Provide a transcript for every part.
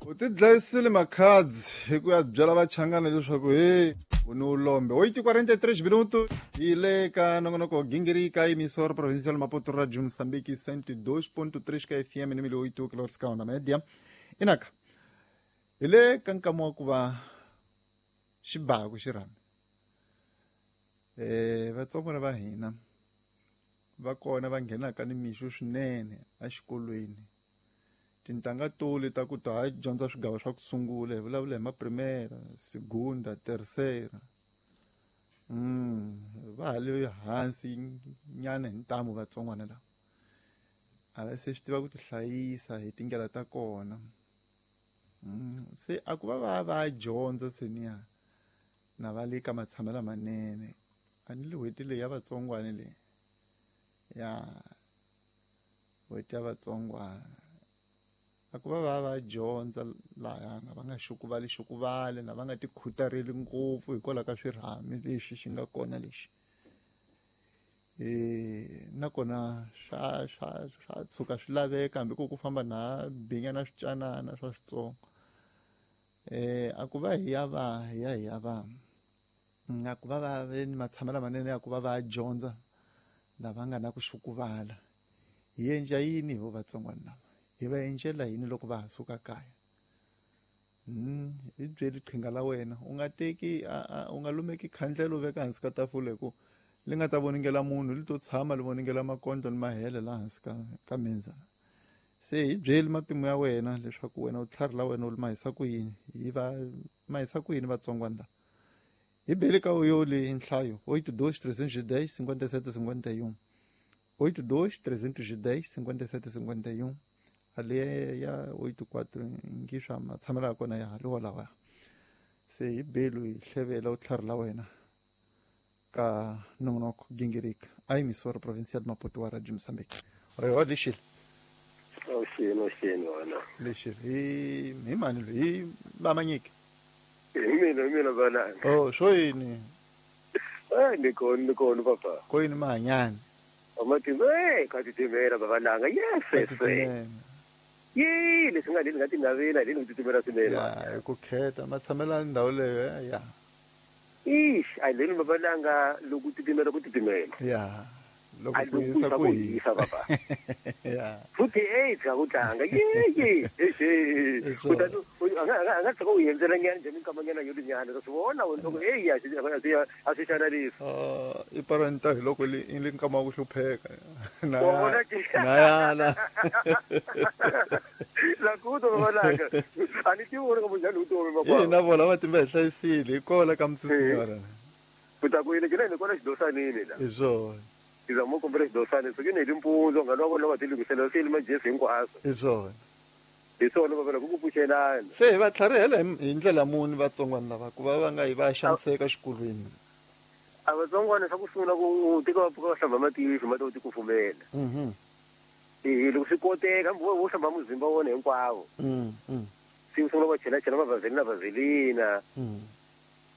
U ti dlayisile makhadzi hi ku ya byela vachangana leswaku he u ni ulombe. 8:43 minuto hi le ka nongonoko gingirika emissora provincial Maputo Radio Moçambique 102.3 ka FM ni 8 kilohertz ka onda media. Inaka hi le ka nkama wa ku va xibaku xirhami. Vatsongwana va hina va kona va nghenaka ni mixo swinene exikolweni. Tintangha tole ta ku ta ha dyondza swigava swa ku sungula hi vulavula hi maprimera, segunda, tercera. Va ha le hansi nyana hi ntamu vatsongwana lava. A va se swi tiva ku tihlayisa hi tindlela ta kona. Se a ku va va va dyondza se niya na va le ka matshamelo lamanene. A ni le n'hweti leyi ya vatsongwana leyi. Ya n'hweti ya vatsongwana. A ku va va va dyondza lahayana va nga xukuvali xukuvali na va nga ti khutareli ngopfu hikwalaho ka swirhami leswi xi nga kona lexi. Nakona swa swa swa tshuka swi laveka hambi ku ku famba na binya na swicanana swa switsongo. A ku va hi ya va hi ya hi ya va a ku va va ve ni matshamelo lamanene ya ku va va dyondza lava nga na ku xukuvala. Hi endla yini hi vo vatsongwana lava? Hi va endlela yini loko va ha suka kaya? Hi byeli qhinga la wena. U nga teki u nga lumeki khandlela u veka hansi ka tafula hi ku li nga ta voningela munhu li to tshama li voningela makondlo ni mahele laha hansi ka menzana. Se hi byeli matimu ya wena leswaku wena u tlhari la wena u li mahisa ku yini? Hi va mahisa ku yini vatsongwana lava? Hi beli ka yo le nhlayo 82 310 57 51. 82 310 57 51. Ale ya 84 ngi swa matshamelo ya kona ya ha le walawa. Se hi belu hi hlevela u tlhari la wena ka nongonoko gingirika a emissora provincial Maputo wa Radio Moçambique. Oyo lexile. Oxeni wena. Lexile hi mani loyi? Hi Mamanyiki. Hi mina valanga. Oh, swo yini? Ni kona papa. Ko yini mahanyani? Amatimba ka titimela babalanga. Yes, yes. Ye, leswi nga leli nga tingavela leli titimela swinene. Ya, hi ku kheta matshamelo ya ndhawu leyo ya. Ish, a leli babalanga loko titimela ku titimela. Ya. Loko ku hisa ku hisa papa. Ya. Futhi bya ku tlanga. Ye. Kutani a nga tsaka u yendzela nyana njhe minkamanyana yo linyana swi vona loko ya a swi xana leswi. I parenta hi loko li nkama wa ku hlupheka. Na yala. La ku to babalanga. A ni tivi ka munjhani u tomi baba. Na vona matimba hi hlayisile hi kola ka msisinyora. Kuta ku yini kina ni kona xidosanini la. Hi swona. Izamo kombela xidosani so kine limpunzo nga loko loko tilungisela se li majesi hinkwaswo. Hi swona. Hi swona baba ku pfuxelana. Se hi va tlharihela hi ndlela muni vatsongwana lava ku va va nga yi va xaniseka xikolweni? A vatsongwana swa ku sungula ku tika va pfuka va hlamba matihlo mati u tikufumela. Loko swi koteka wo hlamba muzimba wona hinkwawo. Se sungula va chela mavazelina vazelina.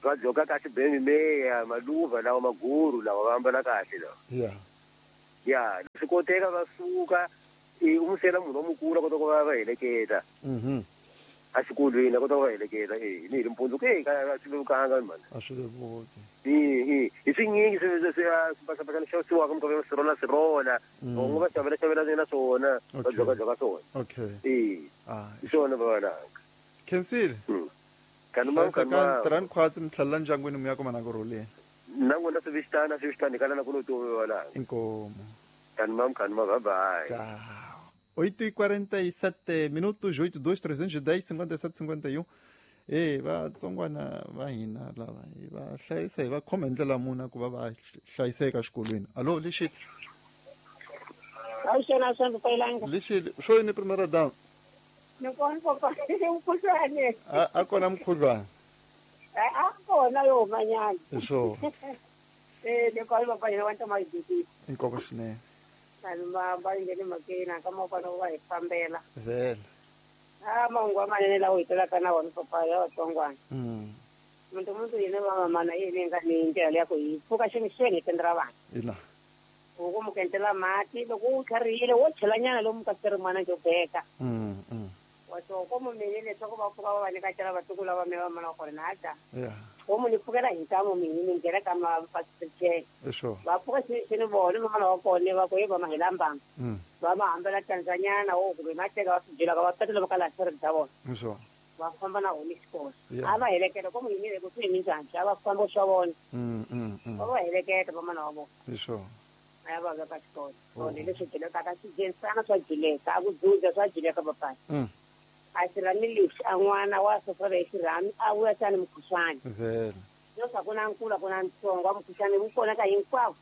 Va dyoka kahle bemi meya maluva lawa maguru lawa va ambala kahle lawa. Ya swi koteka va suka u musela munhu wa mukulu a kota ku va va heleketa. A xikolweni a kota ku va heleketa ni hi mpundzu ku a swi vevukanga mani. A swi vevuki. Hi swinyingi swi xavisiwaka minkarhi ya sirona sirona. Van'we va xavela xavela na swona va dyoka dyoka swona. Okay. Hi swona babalanga. Khensile. Tirhani khwatsi mi tlhelela ndyangwini mi ya kuma na ku rhuleni. Na n'wina swi vixitana hi kala na ku no tomi babalanga. Inkomu. Kanimam bye bye. Tchau. 8:47 minutos, 82 310 57 51. Vatsongwana va hina lava hi va hlayisa hi va khoma hi ndlela muni ku va va hlayiseka exikolweni. Alo lexi. Awuxena swa ndzi Lexi swo yini primera dama? Ni kona papa mukhuhlwane. A kona mukhuhlwane. A kona yo humanyana. Hi swona. Ni kona papa yena wa ntoma yi Inkomu swinene. Vanhu va nghene mhakeni ka mavona va hi fambela. Vhele. Mahungu lamanene lawa hi telaka na wona papa ya vatsongwana. Muntu yena va mamana yini nga ni ndlela ya ku hi pfuka ximixeni hi tendra vanhu. Ina. Ku mu kentela mati loko u tlharihile wo chelanyana lomu ka xirimana xo beka. Wato ko mu mene leswaku va pfuka va va nyika cela vatukulu va me va mana wa kona na ta. Yeah. Ko mu ni pfukela hi ntamu mina ni nghena ka mapasichele. Sure. Va pfuka xini vona mana wa kona va ku va ma hi lambanga. Va ma hambela Tanzania wo kumbe ma teka va swi byela va tatela va kala swi ta vona. Sure. Va famba na hona xikolo. A va heleketa ko mu yimile ku swi minjhani a va famba swa vona. Va va heleketa va mana wa vona. Sure. A va va ka xikolo. So leswi byeleka ka swijenisana swa jileka a ku dzudza swa jileka papai. A xirhami lexi a n'wana wa sosole hi xirhami a vuya tani mukhuhlwani. Vhele. Leswaku ku na nkulu ku na ntsongo wa mukhuhlwani wu kona ka hinkwavo.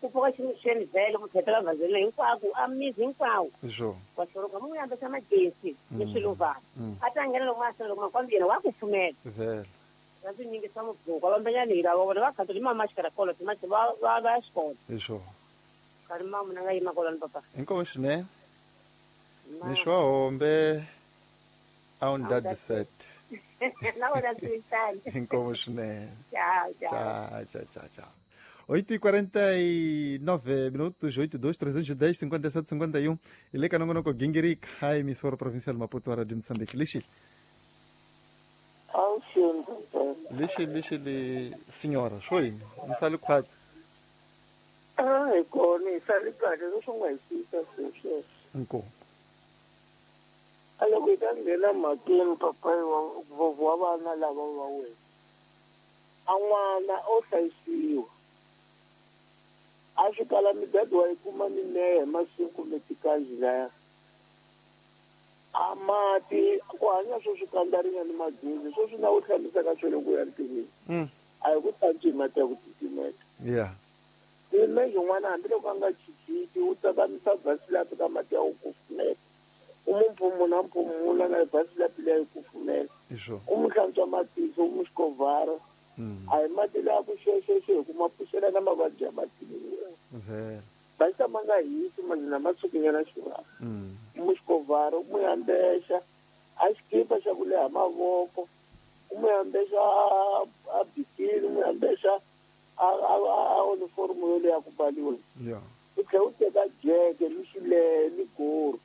Ku pfuka ximixeni vhele ku thetela vhazeni hinkwako a mizi hinkwawo. Sure. Wa xoroka mu yambesa majesi ni swiluva. A ta nghena loko ma loko makwambi yena wa ku pfumela. Vhele. Va swi nyingisa mubhuku va mbenya ni lava vona va khatoli mama xikarakola timati va va va xikolo. Sure. Ka mama na nga yima kolani papa. Inkomo swinene. Mixo wa hombe. Aundad set. Na wena swi Inkomo swinene. Tchau, tchau. Tchau, tchau, tchau. 8:49 minutos, 82 310 57 51. Ile ka nongonoko Gingirika, a emissora provincial Maputo de Moçambique. Lixile. Lixile, lixile, senhora. Foi, msali khwatsi. Ah, hi kona, hi sali kahle leswi nga hi siyisa sweswo. Inkomo. A loko hi ta nghena mhakeni papayi wa vana lava va wena. A n'wana o hlayisiwa. A swi kala midadi wa yi kuma minehe masiku kumbe tikanji laya. A mati ku hanya swo swi kandza ni madzuzi swo swi na ku hlambisaka swilo ku ya ntirhweni. A hi ku hlantswi hi mati ya ku titimeta. Yeah. Ime yin'wana hambiloko a nga chichiki u tsakamisa basilapi ka mati ya ku kufumela. U mu mphumuna mphumuna na basilapi leyi kufumela. U mu hlantswa matihlo u mu xikovhara. A hi mati laya ku xexexe hi ku ma pfuxela na mavabyi ya matihlo. Basa ma nga hisi mazina ma tshukinyana xivava. U mu xikovhara u mu yambexa a xikipa xa ku leha mavoko u mu yambexa a bikini u mu yambexa a uniform yo leya ku baliwa. U tlhela u teka jeke ni xilehe ni goro.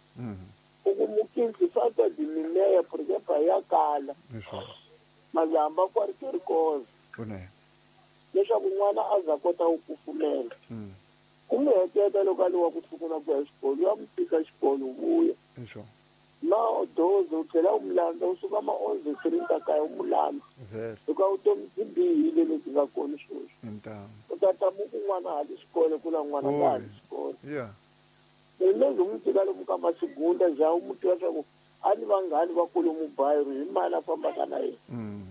U ku mukinsi falta de mineya porque pa ya kala. Mazamba ku ri koza. Leswaku n'wana a za kota ku kufumela. U n'wi heteta loko a liwa ku sungula ku ya xikolo ya mu tika xikolo vuya. Na doze u tlhela u mu landza u suka ma onze three ta kaya u mu landza. Hikuva vutomi byi bihile lebyi nga kona sweswi. U ta ta mu ku n'wana hali xikolo ku la n'wana nga hali xikolo. Lezi u mu tika lomu ka masigunda ja u mu tiva swa ku a ni vanghani va kulu mubayiro hi mali a fambaka na yena.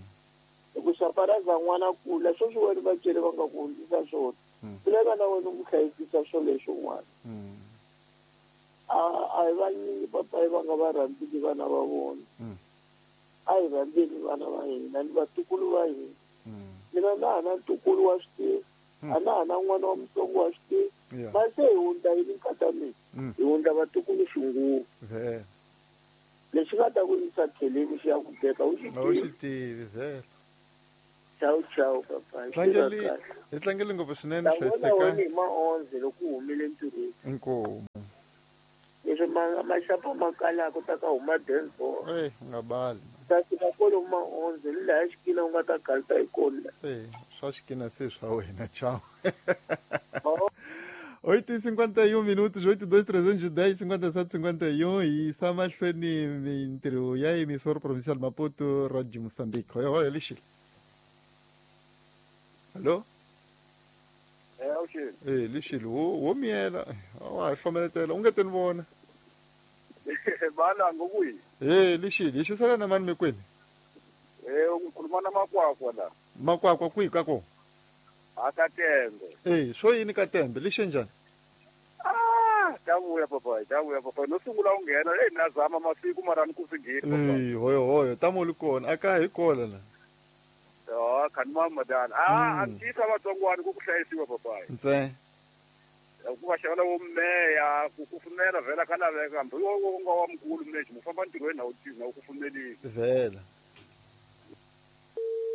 Ku xaparaza n'wana kula sweswi wena vatswari va nga ku hundzisa swona. Swi lava na wena u n'wi hlayisisa swo leswi n'wana. A hi vanyingi papayi va nga va rhandziki vana va vona. A hi rhandzeni vana va hina ni vatukulu va hina. Mina na ha na ntukulu wa swi tivi. A na ha na n'wana wa mutsongo wa swi tivi. Ma se hi hundza yini nkata mina? Hi hundza vatukulu xinguva. Lexi nga ta ku yisa kheleni xi ya ku beka u xi tivi vhele. Ciao ciao papa. Hi tlangeli ngopfu swinene hlayiseka. Hi ma 11 loko u humile ntirhweni. Inkomu. Leswi maxapa ma kalaka ta ka huma dance. U nga bali. Ta fika kwalomu ma 11 ni laha xikina u nga ta galta hi kona. Swa xikina se swa wena ciao. 8:51 minutos, 82 310 57 51 e samahlweni mintirho ya emissora provincial Maputo, Rádio Moçambique. Oi, oi, Lixile. Alô? Awuxile. Lixile, wo miela. Wa hlomeletela, u nga teni vona. Bala ngokuyi. Lixile, hi xisela na mani mikwini? Ukhuluma na Makwakwa la. Makwakwa kwihi ka kona? A Katembe. Swo yini Katembe? Lixe njhani? Ta vuya papai, ta vuya papai. No sungula u nghena, na zama masiku mara ni ku swi ngheni papai. Hoyo hoyo, ta mu li kona, a ka hi kona la. Khani mamadana. A tisa vatsongwana ku ku hlayisiwa papai. Ntse. Ku va xavela wo meya, ku kufumela vhela ka laveka hambi wo nga wa mukulu mlexi mu famba ntirhweni na wu tivi na wu kufumelile. Vhela.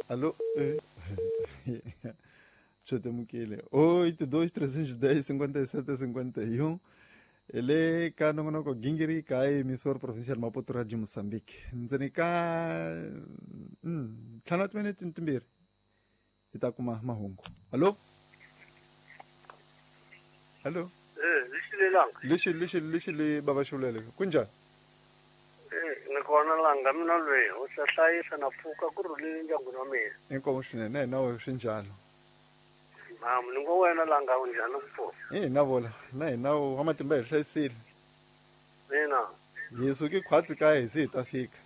Alô? Chotemukile. 82 310 57 51. Le ka nongonoko gingirika emissora provincial Maputo Radio Moçambique. Ndzeni ka 5 wa timinete timbirhi hi ta kuma mahungu. Hallo? Hallo? Lixilelanga. Lixi le baba xulele. Kunjani? Ni kona langa mina loyi u ta hlayisa na pfuka ku rhulile ndyangwini wa mina. Inkomu swinene na wena swi njalo. Mamu ni ngo wena langa u njhani ku pfuka? Na vola na hina wa matimba hi hlayisile. Mina. Hi suke khwatsi kaya hi se hi ta fika.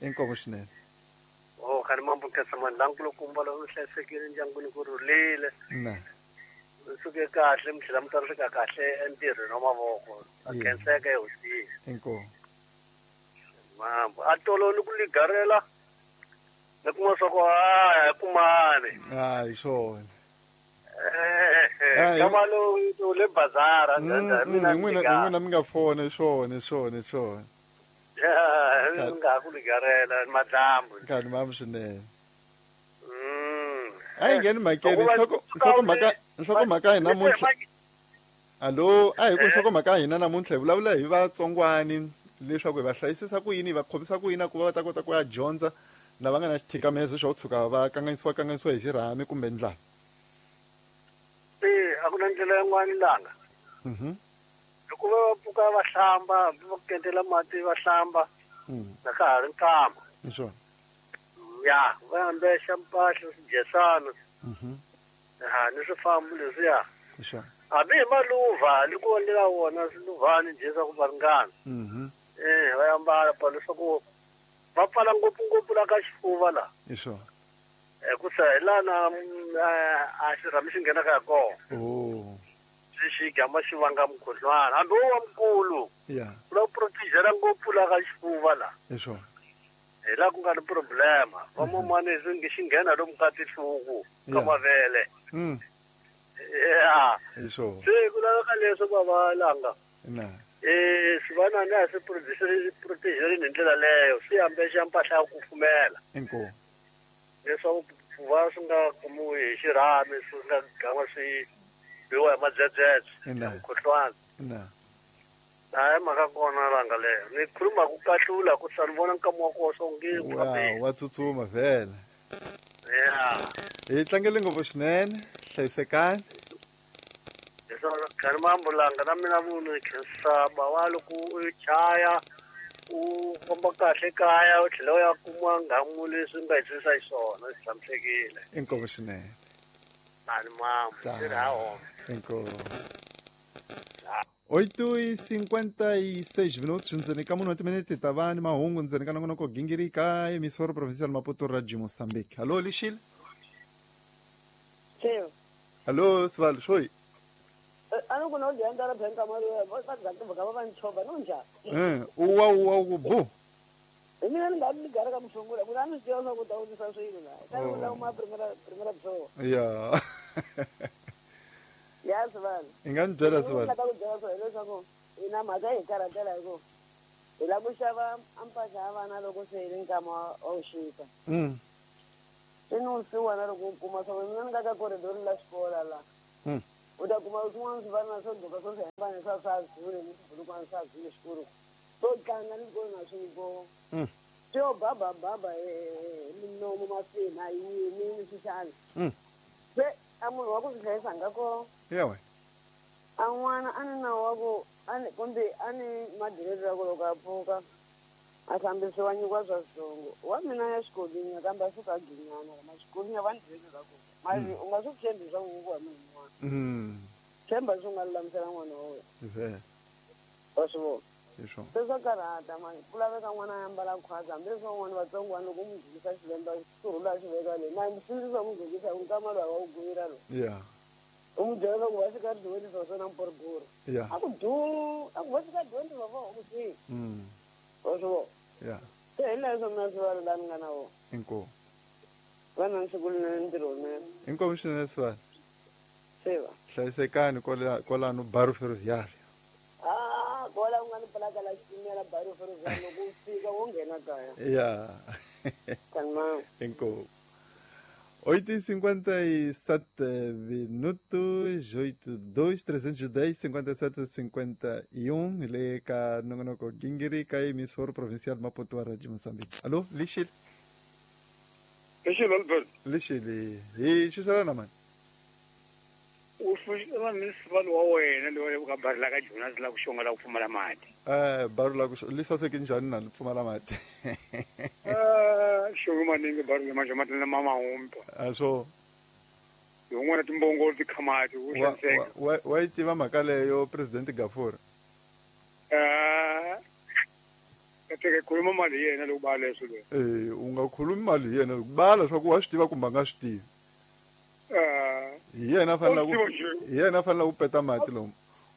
Inkomu swinene. Oh, khani mambo nkhensa mani lankulukumba lowu mi hlayisekile ndyangwini ku rhulile. Na. Mi suke kahle mi tlhela mi ta fika kahle entirhweni wa mavoko. A khenseka ehosini. Inkomu. Mambo a tolo ni ku ligarela ni kuma swa ku a kumani. Hi swona. Kama lo le bazara mina n'wina mi nga fona swona. Ya mi nga ku ligarela madlambu. Nkarhi mambu swinene. A yi ngheni mhakeni nhlokomhaka hina namuntlha. Allo, a hi ku nhlokomhaka hina namuntlha hi vulavula hi vatsongwani leswaku hi va hlayisisa ku yini, hi va khomisa ku yini ku va ta kota ku ya dyondza na va nga na xithikamezo xo tshuka va kanganyisiwa hi xirhami kumbe ndlala. A ku na ndlela yin'wana langa. Loko va pfuka va hlamba, va kentela mati va hlamba. Na ka ha ri nkama. Hi swona. Ya, va ambexa mpahla swidyesana. Ni swifambo leswiya. Hi swona. Hambi hi maluva ni ku endlela wona swiluvhani njhe swa ku va ringana. Va ambala pa leswaku va pfala ngopfungopfu la ka xifuva la. Hi swona. Hikusa hi lana a xirhami xi nghenaka hi kona. Swi xi gama xi vanga mukhuhlwana. Hambi wo wa mukulu. Ya. U lava ku protejela ngopfu la ka xifuva la. Hi swona. Hi laha ku nga ni problema. Van'wamani swi xi nghena lomu ka tinhlungu ka mavele. Ya. Hi swona. Se ku laveka leswo va va langa. Na. Swivanani a swi protejelini hi ndlela leyo. Swi ambexa mpahla ya ku kufumela. Inkomu. Leswaku va swi nga kumiwi hi xirhami swi nga gama swi biwa hi madzedzedze. Mukhuhlwana. Na. Hayi mhaka kona langa leyo. Ni khuluma ku kahlula ku sa ni vona nkama wa koho swo nge ku fambeni. Wa tsutsuma vhele. Ya. Hi tlangele ngopfu swinene. Hlayisekani. Leswaku khani mambo langa na mina munhu khensa bawa loko u chaya u famba kahle kaya u tlhela u ya kuma nghamu leswi nga hi swisa xiswona swi tshamisekile. Inkomu swinene. Mani mambo swi ri ha hona. Inkomu. 8:56 minutos ndzeni ka munhu wa timinete ta va ni mahungu ndzeni ka nongonoko gingirika emissora provincial Maputo Radio Moçambique. Hallo Lixile. Hallo Sivalo xoi. A ku na u dyandza ra banka mali va va va nchova no njhani? Uwa ku bu. Hi mina ni nga ni gara ka musungula ku na ni swi tiva swa ku ta vutisa swilo la. Ka ni vula ma primera byo. Ya. Ya Sivalo. I nga ni byela Sivalo. Ni ku byela swona leswaku ina mhaka hi karhatela hi ku hi lava ku xava mpahla ya vana loko se hi ri nkama wa vuxika. Se ni wusiwana loko u kuma swa mina ni nga ka corridor la xikola la. U ta kuma swin'wana swi vana swo duka swo swi hambana swa swa zule ni swibulukwana swa zule xikolo. Swo tlanga ni swikolo na swiko. Swi yo baba baba hi minomo mafina yini ni swixana. Se a munhu wa ku swi hlayisa nga kona. Yeah. A n'wana a ni nawu wa ku kumbe a ni madireti ya ku loko a pfuka a hlambisiwa nyikiwa swa switsongo. Wa mina ya xikolweni kambe a suka a ginyana ma xikolweni va ni direti ra kona. Mali u nga swi tshembi swa ku nyikiwa munhu un'wana. Tshemba swi nga lulamisela n'wana wa wena. Wa swi vona. Se swa karhata mani ku laveka n'wana a ambala khwatsi hambileswi van'wana vatsongwana loko u n'wi gqokisa xilemba xirhula xi veka le na sindzisa ku n'wi gqokisa nkama lowu wa wu gwira lowu. Yeah. U n'wi byela loko va fika dyondzisa swona mporogoro. Yeah. A ku du a ku va fika dyondzisa va ku swi. Wa swi vona. Yeah. Se hi leswo mina swi va la ni nga na wona. Inkomu. Vana ni siku linene ntirho wunene. Inkomu swinene Sivalo. Siva. Hlayisekani kwalano Bairro Ferroviário. Kwala u nga ni plaka la xitimela Bairro Ferroviário loko u fika wo nghena kaya. Yeah. Kanma. Inkomu. 8h57 minutos, 82 310 57 51, le ka nongonoko Gingirika, emissora provincial Maputo, Rádio Moçambique. Alô, Lixile? Lixile, Albert. Lixile. E xisana mani? U sivalo wa wena loyi ka bari la ka Jonas la ku xonga la ku pfumala mati. Bari la ku li saseke njhani na li pfumala mati? Xonga maningi bari la manje mati na mama humpa. So yin'wana timbongolo ti khamati u xaniseka. Wa yi tiva mhaka leyo President Gafur? Ka khuluma mali hi yena loko ba leswo loyi. U nga khulumi mali hi yena loko bala swa ku wa swi tiva kumbe a nga swi tivi. Hi yena fanele ku peta mati lomu.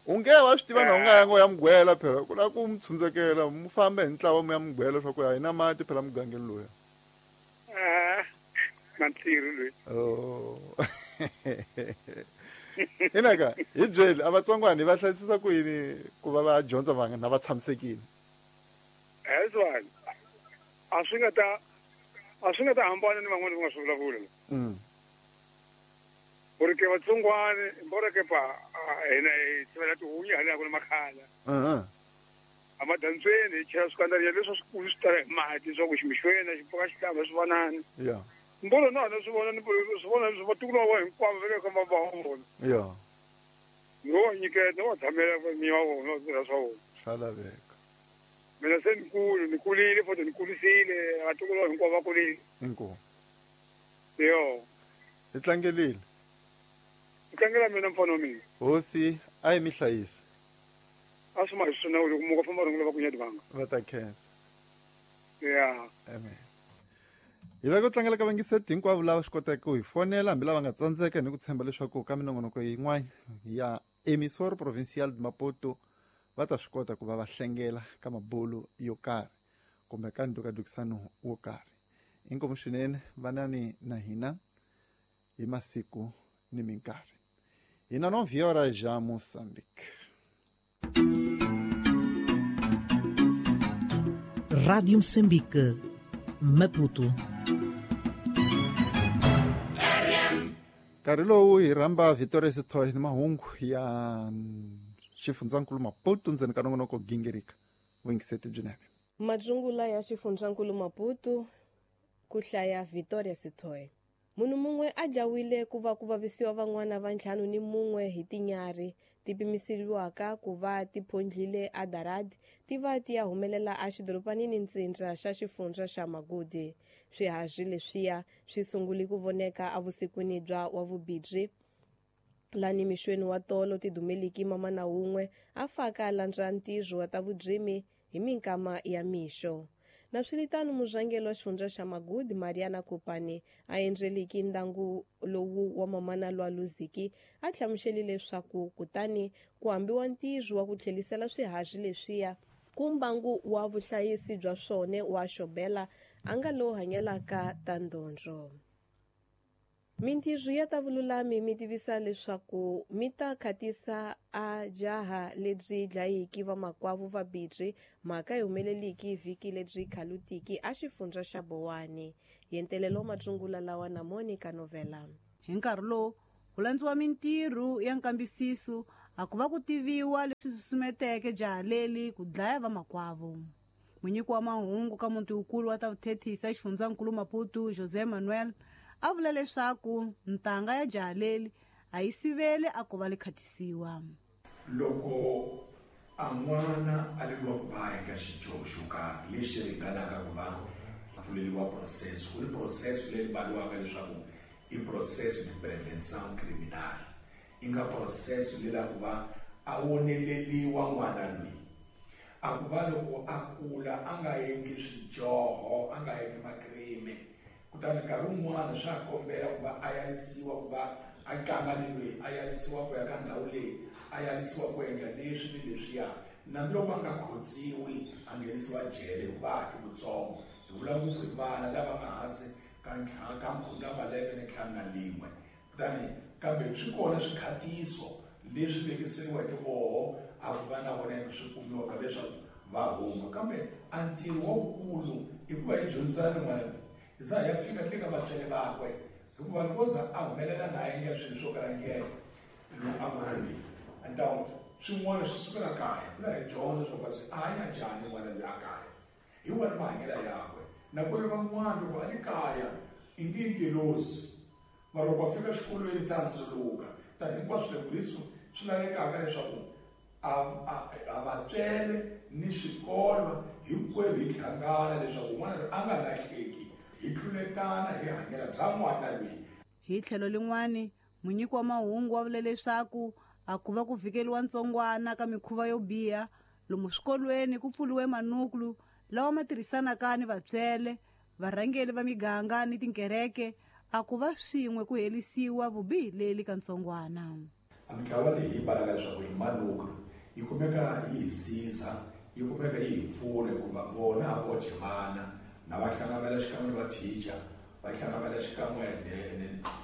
U nge wa swi tiva na u nga yanga u ya mugwela phela ku lava ku mi tshundzekela mu famba hi ntlawa mu ya mugwela swa ku a hi na mati phela mugangeni loya. Na ntirho loyi. Inaka hi byeli a vatsongwana va hlayisisa ku yini ku va va dyondza va na va tshamisekile? Ezwani a swi nga ta hambana ni van'wana va nga swi vulavula. Porque vatsongwana mbora ke pa hina hi tsivela tihunyi hala ku na makhala. A madantsweni hi chela swikandza leswi swikulu swi tala hi mati swa ku ximixweni xi pfuka xi hlamba swi vonana. Yeah. Mbora na swi vona ni swi vona swi vatukulu va vona hinkwavo va le ka va vona. Yeah. No nyiketa wa tshamela mi wa vona swi swa vona. Swa laveka. Mina se ni ni kulile futhi ni kulisile vatukulu va hinkwavo va kulile. Inkomu. Yo. Hi tlangelile. Tlangela mina mfana wa mina. Hosi a yi mi hlayisa. A swi ma hi swona loko muka famba rhungula va ku nyadivanga. Va ta khensa. Yeah. Amen. Hi va ku tlangela ka vangiseti hinkwavo lava swi kotaka ku hi fonela hambi lava nga tsandzeka ni ku tshemba leswaku ka minongonoko yin'wana ya emissora provincial de Maputo va ta swi kota ku va va hlengela ka mabulu yo karhi kumbe ka ndukadukisano wo karhi. Inkomu swinene vanani na hina hi masiku ni minkarhi. Hina 9 horas já Moçambique. Rádio Moçambique, Maputo. Nkarhi lowu hi rhamba Victoria Sithoy ni mahungu ya xifundzankulu Maputo ndzeni ka nongonoko Gingirika. Vuyingiseti byinene. Madzungula ya xifundzankulu Maputo ku hlaya Victoria Sithoy. Munhu mun'we a dlawile ku va ku vavisiwa van'wana va 51 hi tinyarhi ti pimiseriwaka ku va ti phondlile a Darad ti va ti ya humelela a xidorobanini ntsindza xa xifundza xa Magudi. Swiharhi leswiya swi sungule ku voneka evusikwini bya wavubirhi lani mixweni wa tolo ti dumeliki mamana wun'we a faka landza ntirho wa ta vudzimi hi minkama ya mixo. Na swilitano murhangeri wa xifundza xa Magudi Mariana Kupani a endleliki ndangu lowu wa mamana lwa Luziki a hlamusele leswaku kutani ku hambiwa ntirho wa ku tlhelisela swiharhi leswiya ku mbangu wa vuhlayisi bya swona wa Xobela a nga lowu hanyelaka ta ndhondlo. Mintirho ya ta vululami mi tivisa leswaku mi ta khatisa a jaha lebyi dlayiki vamakwavo va bidzi mhaka yi humeleliki vhiki lebyi khalutiki a xifundza xa Bowani. Yentelelo matsungula lawa na Monica Novela. Hi nkarhi lowu ku landziwa mintirho ya nkambisiso a ku va ku tiviwa leswi susumeteke jaha leli ku dlaya vamakwavo. Munyiki wa mahungu ka muti wukulu wa ta vuthethisa xifundzankulu Maputo José Manuel a vula leswaku ntanga ya jaha leli a yi sivele a ku va li khatisiwa. Loko a n'wana a leriwa ku va eka xidyoho xo karhi lexi ringanaka ku va pfuleriwa process, ku ri process leyi vuriwaka leswaku i process de prevention criminal, i nga process leyi ku va a woneleliwa n'wana loyi a ku va loko a kula a nga endli swidyoho, a nga endli makrime. Kutani nkarhi wun'wana swa kombela ku va a yarisiwa ku va a tlanga ni loyi, a yarisiwa ku ya ka ndhawu leyi, a yarisiwa ku endla leswi ni leswiya. Nambi loko a nga khotsiwi a nghenisiwa jele hikuva a ha ri mutsongo. Hi vula ngopfu hi vana lava nga hansi ka ka khume ra malembe ni 51. Kutani kambe swi kona swikhatiso leswi vekiseriweke voho a ku va na vona swi kumiwaka leswaku va huma. Kambe a ntirho wukulu i ku va hi dyondzisana ni n'wana loyi. Hi za hi ya fika le ka vatswari vakwe Hikuva loko za a humelela na a endla swilo swo kala ndlela lowu a n'wana loyi então swin'wana swi sukela kaya ku la hi dyondza swa kasi a hanya njhani n'wana loyi a kaya hi wona mahanyelo yakwe nakona van'wana loko a ri kaya i nge ngelosi mara loko a fika xikolweni se a ndzuluka tani hinkwaswo loko leswi swi lavekaka leswaku a vatswele ni swikolo hinkwerhu hi hlangana leswaku n'wana loyi a nga lahleki hi tluletana hi hanyela bya n'wana loyi. Hi tlhelo lin'wani, munyiki wa mahungu wa vule leswaku a ku va ku vhikeliwa ntsongwana ka mikhuva yo biha lomu swikolweni ku pfuriwe manuklu lawa ma tirhisanaka ni vatswele, varhangeli va miganga ni tinkereke a ku va swin'we ku helisiwa vubihi leli ka ntsongwana. A mitlawa leyi yi balaka leswaku hi manuklu yi kumeka yi hi siza yi kumeka yi hi pfuna hikuva vona a voxe vana na va hlangamela xikan'we ni vathicha va hlangamela xikan'we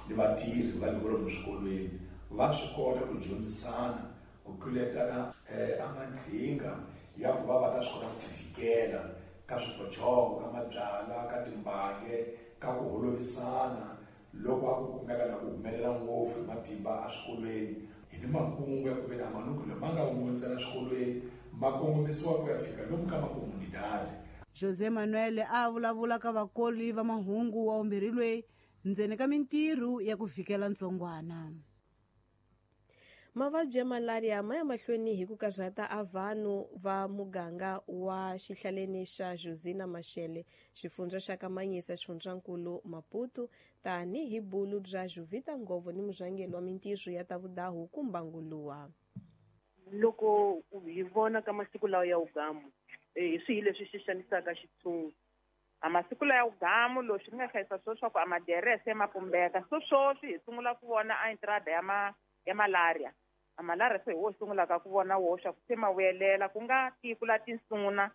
ni vatirhi va le kwalomu swikolweni va swi kota ku dyondzisana ku tluletana a mandlhinga ya ku va va ta swi kota ku tivikela ka swifochongo ka mabyala ka timbange ka ku holovisana loko a ku kumeka na ku humelela ngopfu hi matimba eswikolweni hi ni makungu ya ku ve na manuku lama nga wun'we ntsena swikolweni ma kongomisiwa ku ya fika lomu ka makomunidadi. José Manuel a vulavula ka vakoli va mahungu wa umbirhi loyi ndzeni ka mintirho ya ku vhikela ntsongwana. Mavabyi ya malaria ma ya mahlweni hi ku karhata a vanhu va muganga wa xihlaleni xa Josina Machel, xifundza xa Kamanyisa, xifundzankulu Maputo, tanihi bulu bya Juvita Ngovo ni murhangeri wa mintirho ya ta vudahu kumbanguluwa. Loko hi vona ka masiku lawa ya ugamu, hi swihi leswi xi xanisaka xitshungu? A masiku lawa ya ugamu leswi nga hlayisa swo swa ku a maderese ma pumbeka. So swoswi hi sungula ku vona a entrada ya malaria. A malaria se hi wo sungulaka ku vona wo swa ku se ma vuyelela ku nga tiko la tinsuna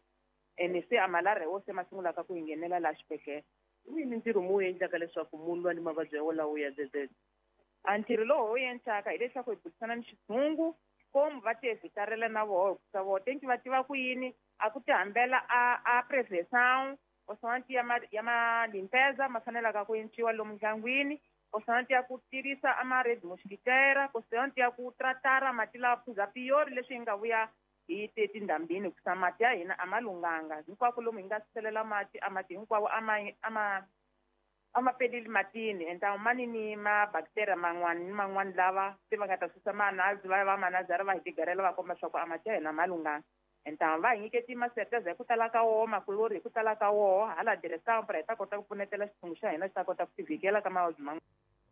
ene se a malaria wo se ma sungulaka ku nghenela la xibedhlele. Hi mintirho mu endlaka leswaku munhu lwa ni mavabyi ya wolawo ya dzedzedze? A ntirho lowu wu endlaka hileswaku hi burisana ni xitshungu komu va tievhitarela na voho hikusa voho tenki va tiva ku yini a ku tihambela a prevenção osonti ya ma limpeza ma fanelaka ku enciwa lomu ndyangwini, osonti ya ku tirhisa a ma red mosquitera, osonti ya ku tratara mati lawa phuza piyori leswi hi nga vuya hi te tindhambini hikusa mati ya hina a ma lunghanga hinkwako lomu hi nga selela mati a mati hinkwawo a ma peleli matini enta mani ni ma bacteria man'wani ni man'wani lava se va nga ta susa manazi va va manazara va hi tigarela va komba swa ku a mati ya hina ma lunghanga. Enta va hi nyiketi maserteza hi ku tala ka woho makulori hi ku tala ka woho hala diresampa hi ta kota ku pfunetela xitshungu xa hina xi ta kota ku tivhikela ka mavabyi man'wana.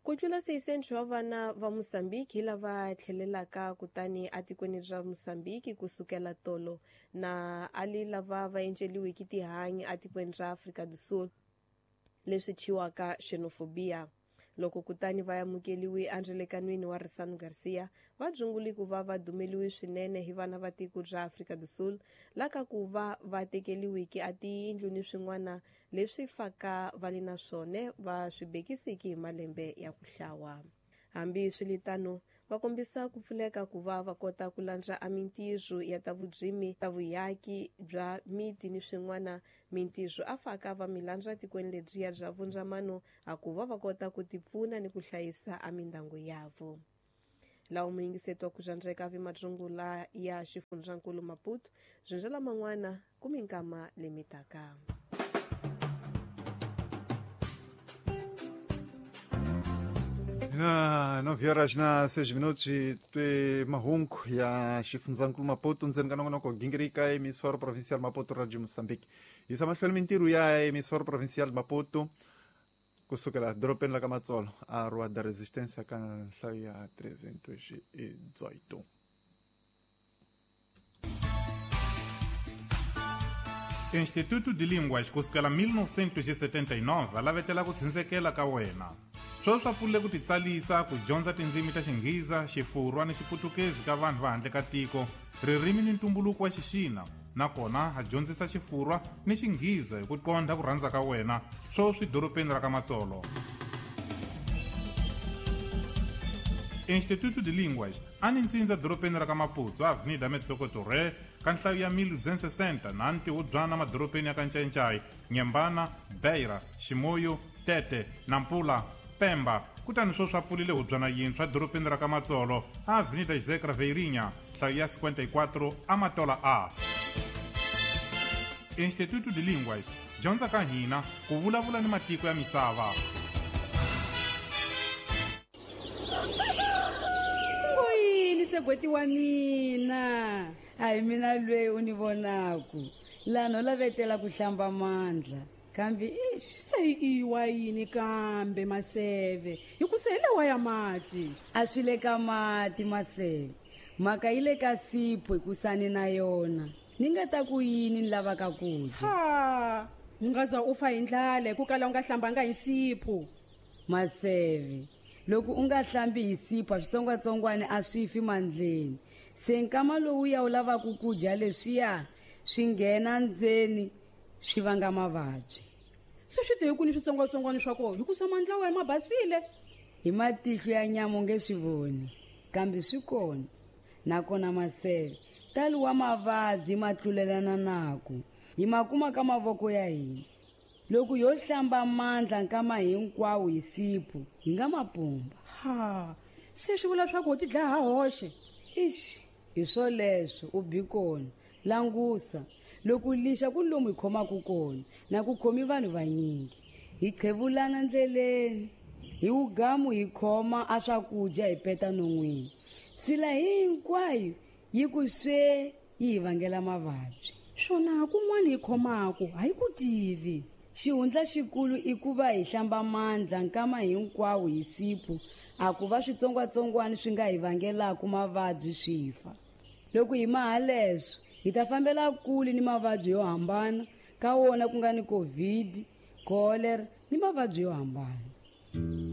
Ku tlula 600 wa vana va Mozambique hi lava tlhelelaka kutani atikweni ra Mozambique kusukela tolo na ali lava va enceliwiki tihanyi atikweni ra Afrika do Sul leswi thyiwaka xenophobia. Loko kutani va amukeliwi endlelekanwini wa Risano Garcia, va dzunguli ku va va dumeliwi swinene hi vana va tiko ra Afrika do Sul laka ku va va tekeliwiki a tiyindlu ni swin'wana leswi faka va li na swona va swi bekisiki hi malembe ya ku hlawa. Hambi swiritano, va kombisa ku pfuleka ku va va kota ku landza a mintirho ya ta vudzimi, ta vuyaki bya miti ni swin'wana mintirho a faka va milandza tikweni lebyiya bya vundzamano a ku va va kota ku tipfuna ni ku hlayisa a mindyangu yavo. Lawa muyingiseto wa ku dzandzeka vi madzungula ya xifundzankulu Maputo, byi man'wana ku minkama lemitaka. Na 9 horas na 6 minutos twe mahungu ya xifundzankulu Maputo ndzeni ka nongonoko gingirika emissora provincial Maputo Radio Moçambique. Yisa mahlweni mintirho ya emissora provincial Maputo kusukela dorobeni la ka Matsolo a Rua da Resistência ka nhlayo ya 318. Instituto de Línguas kusukela 1979 a lavetela ku tshinsekela ka wena. Sweswi swa pfulile ku titsalisa ku dyondza tindzimi ta Xinghiza, Xifurwa ni Xiputukezi ka vanhu va handle ka tiko, ririmi ni ntumbuluko wa Xixina, nakona a dyondzisa Xifurwa ni Xinghiza hi ku qondha ku rhandza ka wena, sweswi dorobeni ra ka Matsolo. Instituto de Línguas a ni ntsindza dorobeni ra ka Maputo, Avenida Metsoko Torre, ka nhlayo ya 1260 na ntihubyana madorobeni ya ka Ncayincai, Nyembana, Beira, Ximoyo, Tete, Nampula. Pemba, kutani sweswi a pfulile hubyana yintshwa dorobeni ra ka Matsolo, a Avenida José Craveirinha, nhlayo ya 54, Amatola A. Instituto de Línguas, dyondza ka hina ku vulavula ni matiko ya misava. Ngoyini segweti wa mina? A hi mina lweyi u ni vonaku lano lavetela ku hlamba mandla kambe ix Se i wa yini kambe Maseve, hi ku se hi lawa ya mati? A swi le ka mati Maseve, mhaka yi le ka sipho hikusani na yona ni nga ta ku yini ni lavaka ku dya. Ha, u nga za u fa hi ndlala hi ku kala u nga hlambanga hi sipho. Maseve, loko u nga hlambi hi sipho switsongwatsongwana a swi fi mandleni, se nkama lowu ya u lavaka ku dya leswiya swi nghena ndzeni swi vanga mavabyi. Se swi te ku ni switsongwatsongwana swa kona hikusa mandla wa ma basile. Hi matihlo ya nyama u nge swi voni, kambe swi kona. Nakona Maseve, talo wa mavabyi ma tlulelana naku hi ma kuma ka mavoko ya hina. Loko yo hlamba mandla nkama hinkwawo hi sipho hi nga mapumba. Ha, se swi vula swa ku ti dlaya ha hoxe. Ixi, hi swoleswo u bi kona. Langusa loko lixa ku lomu hi khomaka kona na ku khomi vanhu vanyingi, hi qhevulana ndleleni, hi wugamu hi khoma a swakudya hi peta non'wini, sila hinkwayo yi ku swe yi hi vangela mavabyi. Swona kun'wana hi khomaka a hi ku tivi. Xihundla xikulu i ku va hi hlamba mandla nkama hinkwawo hi sipho, a ku va switsongwatsongwana swi nga hi vangelaka mavabyi swi fa. Loko hi maha leswo hi ta fambela kule ni mavabyi yo hambana, ka wona ku nga ni COVID, cholera ni mavabyi yo hambana.